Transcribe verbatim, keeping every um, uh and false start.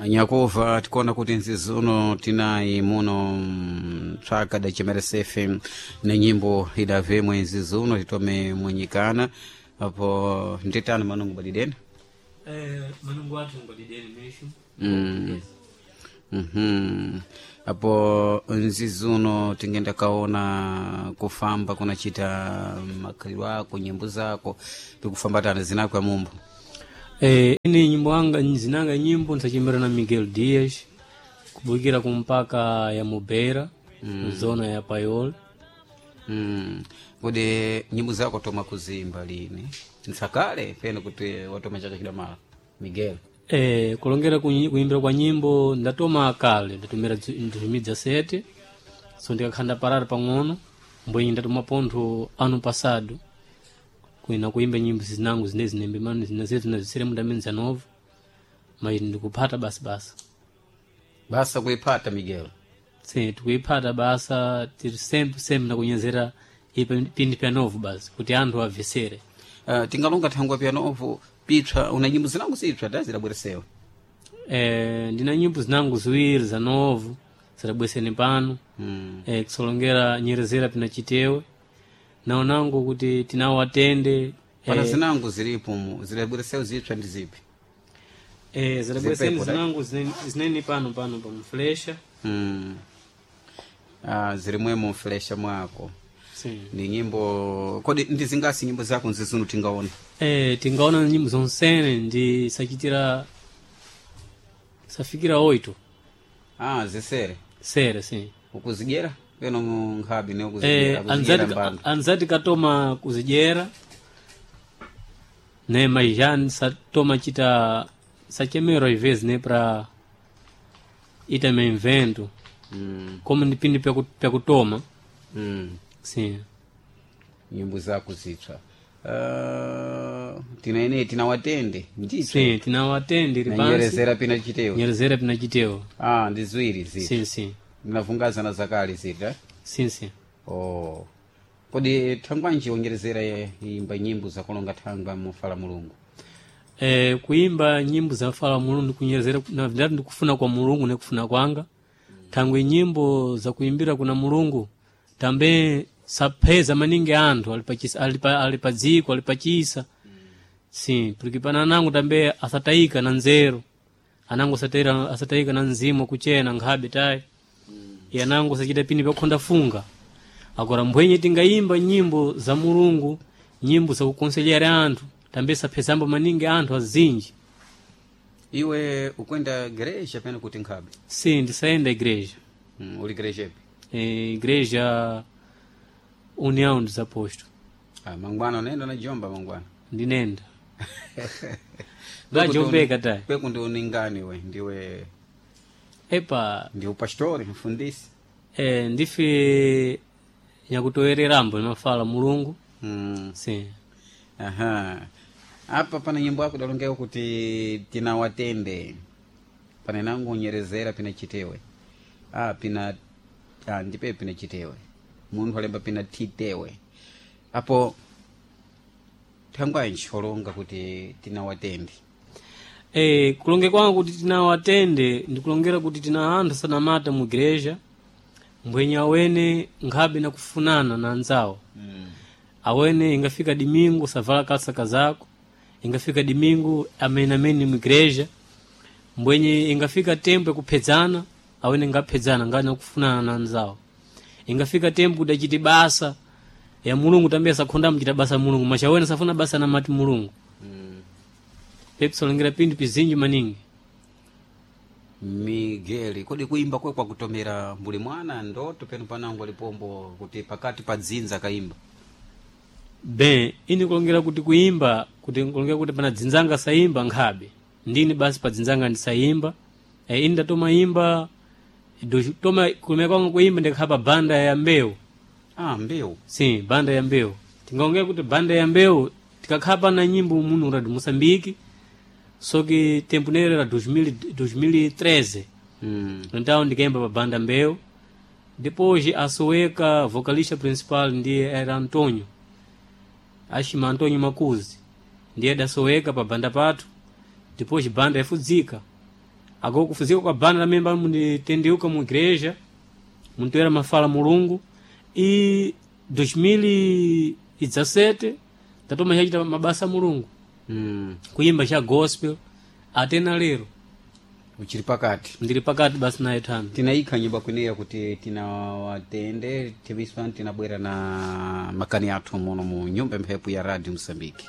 Nyakuva tikuona kuti nzizuno tinayi muno mm, tsvaka da chimeresefe ne nyimbo idavemwe nzizuno titome mwenyikana apo nditano manungu badideni. Eh, manungu athu ngwadideni meshu. Mm. Mhm. Apo nzizuno tingenda kaona kufamba kunachita makhalidwe ako, nyimbo zako pikufambatana zinako ya mumbo. Eh, ini nyimbo anga zinanga nyimbo nsachimira na Miguel Dias kubukira kumpaka ya Mubera mm. zona ya Payol. Mm. Kodi nyimbo zako toma kuzimba lini? Nsakale peno kuti watoma chaka chidamala Miguel. Eh, kulongera kunyi- kuimbira kwa nyimbo ndatoma kale ndatumira dois mil e dezessete, so ndikakhanda parara pang'ono mbwenyi ndatoma pontho ano passado kuina kuimba nyimbo zinangu zine zinembe mano zinazetu nazisere mu dois mil e dezenove, mas ndikuphata basi basi. Basa kuiphata Miguel. Sim, tikuiphata basa tiri sempre sempre nakunyezera ipa pindi pya novo basi kuti anthu amvesere. Uh, tingalonga thangwa pianovo pitswa una nyimbo zinangu zipsa da zidabweresewa. Eh, ndina nyimbo zinangu ziwiri za novo zidabweseni pano. Mm. Eh, kusolongera nyerezera pina chitewe naonangu kuti tinawo atende. Pana eh, zinangu zilipo mu zidabweresewa zipsa ndi zipi? eh, zidabweseni Zipepo, da? zinangu zineni- zineni pano pano pamuflesha. Mm. Ah, zilimwemo mflesha mwako. Sim. Ni nyimbo kodi ndizingasi nyimbo zako nzizunu tingaona? Eh, tingaona nyimbo zonsene ndi sachitira safikira oito. Ah, zisere. Sere sim. Ukuzigera peno mu nkhabi ne ukuzigera, Eh, ukuzigera anzati, mbandu. anzati katoma kuzidyera ne maijani satoma chita sachemero às vezes ne pra ita me invento Mm. como ndipindi pya kutoma. Mm. Sim. Nyimbo zako zitsva. Uh, tina tina watende nditsva. Sim, tinawatende iri Na pansi. nyerezera pina chitewe. Nyerezera pina chitewo. Ah, ndi ziwiri ziti. Sim, sim. Ndinavungazana zakale ziti eh? Sim, sim. Oh. Kodi thangwanji wonyerezera ye- imba nyimbo zakulonga thangwa mufala Mulungu? Eh, kuimba nyimbo za fala Mulungu ndikunyerezera na ndati ndikufuna kwa Mulungu nekufuna kwanga thangwe nyimbo za kuimbira kuna Mulungu tambe sapheza maningi anthu alipachisa alipa, alipadziko alipachisa sim, porque pana anangu tambe asatayika na nzeru anangu asatayika, asatayika na mzimu kuchena nkhabe tayi mm. Anangu sachita pini pakhonda funga agora mbwenye tingayimba nyimbo za Mulungu, nyimbo zakukonselera anthu tambe saphezambo maningi anthu azinji. Iwe ukwenda gereja peno kuti nkhabe? Sim, ndisayenda igreja. Mm, uli gereja ipi? Eh, igreja União dos Apóstolos. Ah, mangwana unaenda na jomba mangwana. Ndinenda ngajombeka tayi. Kweku ndi uningani we ndiwe Epa. ndi upastori mfundisi. Eh, ndife nyakutowererambo nimafala Mulungu. Mm. Sim. Aha. Apa pana nyimbo yako dalongeka kuti tinawatende pana nangu unyerezera pina chitewe. Ah, pina ah, ndipe pina chitewe munthu alemba pina titewe apo thangwanji olonga kuti tinawatende? Eh, kulonge kwangu kuti tinawatende ndikulongera kuti tina anthu sanamata mu igreja mbwenye awene nkhabe nakufunana na anzawo. Mm. Awene ingafika dimingu savala kalsa kazako, ingafika dimingu amene amene mu igreja mbwenye ingafika tempo yakuphedzana awene ngaphedzana ngani nakufunana na anzawo, ingafika tempo kuti achite basa ya Mulungu tambe asakhonda mchita basa Mulungu macha awene safuna basa namati Mulungu. Mm. Pepsolongera pindu pizinji maningi. Miguel, kodi kuimba kwe kwakutomera mbuli mwana ndoto peno panangu alipombo kuti pakati pa dzinza kaimba? Ben ini kulongera kuti kuimba kuti kulongera kuti pana dzinzanga saimba nkhabe ndini basi pa dzinzanga ndisayimba. E, ini ndatoma imba do- toma kulumira kwangu kuimba ndikhala pa banda ya mbewu. Ah, mbewu. Sim, banda ya mbewu tingaongera kuti banda ya mbewu tikakhala pana nyimbo muno ra Moçambique soki tempo nere ra dois mil dois mil e treze. Mm. Então ndikaimba pa banda mbewu depois asoweka vocalista principal ndiye era Antônio ashima Antônio Makuzi ndiye adasoweka pa banda pathu depois banda yafudzika. Ago kufuzika kwa banda também bali munditendiuka mu igreja, muntoera mafala Mulungu. E dois mil e dezessete tatoma chachita mabasa a Mulungu, Mm. kuimba cha gospel ate na lero. Uchiri pakati. Ndili pakati basi naye thano. Tinaikha nyumba kweneya kuti tinawatende tiviswa, tinabwera na makani athu muno mu nyumba mphepo ya Radio Msambiki.